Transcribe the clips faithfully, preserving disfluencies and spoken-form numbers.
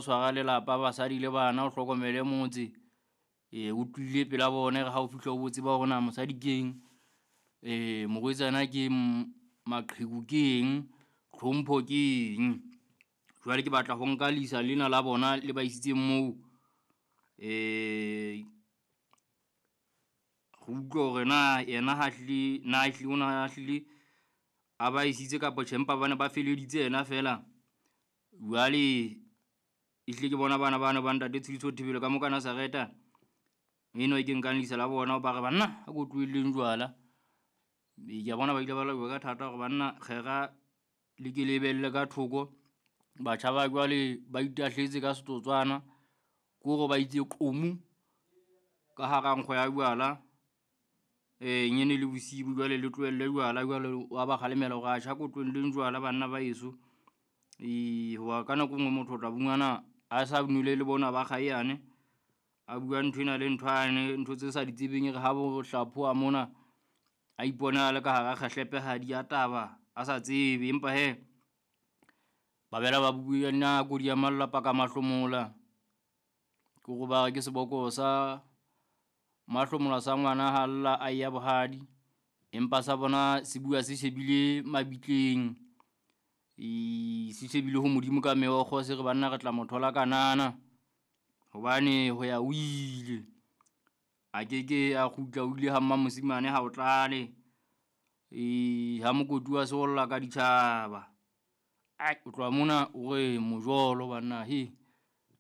Tshwara lelapa, basadi le bana, o hlokomele motse. Ee, o tlile pela bona re ha o fihla o botse ba hore na mosadi keng, eh morwetsana ke maqheku ke eng, tlhompho ke eng. Jwale ke batla ho nka lisa lena la bona le ba isitseng moo, eh re utlwe hore na yena ha hlile na ehlile o na hlile a ba isitse kapa tjhe, empa ba ne ba feleditse yena fela. Jwale ehlile ke bona bana bano ba ntate Tshidiso Thibelo ka mo ka Nazareta. Eno e ke nkang lisa la bona ba re banna a ko tlohelleng jwala. Ee, ke a bona ba ile ba laiwa ka thata hore banna kgera le ke lebelle ka thoko. Batjha ba jwale ba itahletse ka setotswana, ke hore ba itse qomu ka hara nkgo ya jwala. E nyene le bosibu jwale le tlohelle jwala jwale wa ba kgalemela hore atjhe a ko tlohelleng jwala banna ba heso. E, hoba ka nako e nngwe motho o tla fumana a sa nwele le bona ba kgayane, a bua nthwena le nthwane, ntho tse sa di tsebeng. E re ha bo hlaphoha mona, a ipona a le ka hara kgahlepehadi ya taba a sa tsebe. Empa he ba bela ba bua nna kodi ya malla paka mahlomola. Ke hore ba re ke seboko sa mahlomola sa ngwana ha lla a ya bohadi, empa sa bona se bua se shebile mabitleng. E, se shebile ho Modimo ka meokgo, se re banna re tla mo thola kanana hobane ho ya ho ile. A keke a kgutla, o ile ha mmamosimane ha o tlale. E, ha mokoti wa seolla ka ditjhaba. Ai, o tloha mona o re mojolo banna he.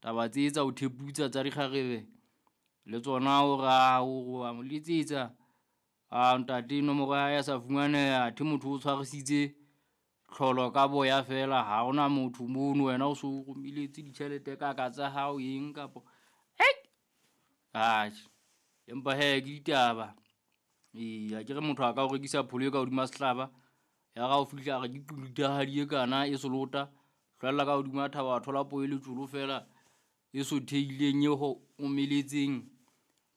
Taba tse tsa ho theputsa tsa dikgarebe le tsona o ra o wa mo letsetsa. A ntate nomoro ya hae a sa fumaneha, athe motho o tshwarisitse tlholo ka boya fela. Ha hona motho mono, wena o so romeletse ditjhelete kaka tsa hao eng kapo hei. Atjhe, empa he ke ditaba. Ee, akere motho a ka o rekisa pholo e ka hodima sehlaba, ya re ha o fihla a re ke qulutahadi e kana e selota. Hlwella ka hodima thaba, wa thola poho e letjolo fela e sothehileng, e ho omeletseng.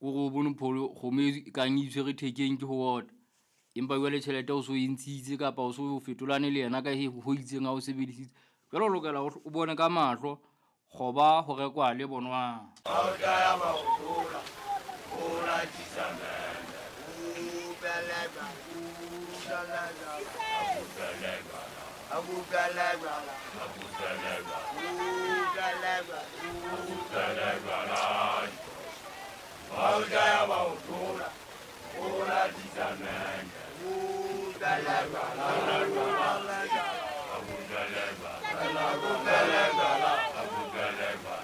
O re o bone pholo kgomo e kang e itshwere thekeng ke ho ota. Empa jwale tjhelete o so e ntshitse kapa o so fetolane le yena ka he ho itseng ha o sebedisitse. Jwale o lokela hore o bone ka mahlo kgoba ho rekwa le bonwang.